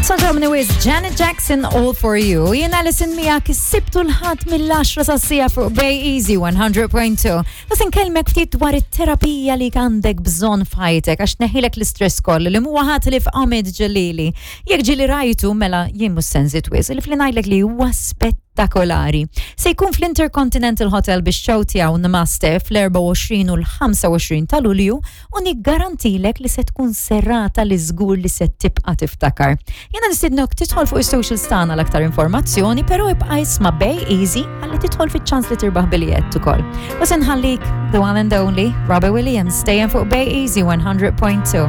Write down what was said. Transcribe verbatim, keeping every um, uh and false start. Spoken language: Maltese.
Sanġomni with Janet Jackson, All For You. Jiena Alison miegħek is-Sibt u l-Ħadd mill-għaxra sas-siegħa fuq Bay Easy one hundred point two. Bas nkellmek ftit dwar it-terapija li għandek bżonn f'ħajtek għax tneħħilek l-istress kollu li mhuwa ħadd ħlief Ahmed Ġalili. Jekk ġieli rajtu, mela jien mhux sensit wisq li fli ngħidlek li huwa spettakolari. Se jkun fl-Intercontinental Hotel biex show tiegħu Namaste fl-erbgħa u għoxrin u l-ħamsa u għoxrin ta' Lulju u niggarantilek li se tkun serata li żgur li se tibqa' tiftakar. Jiena nistidnok tidħol fuq is-socials tagħna l-aktar informazzjoni, però ibqa' isma' Bay Easy ħalli tidħol fiċ-ċans li tirbaħ biljett ukoll. U se nħallik the one and only Robbie Williams, stay fuq Bay Easy one hundred point two.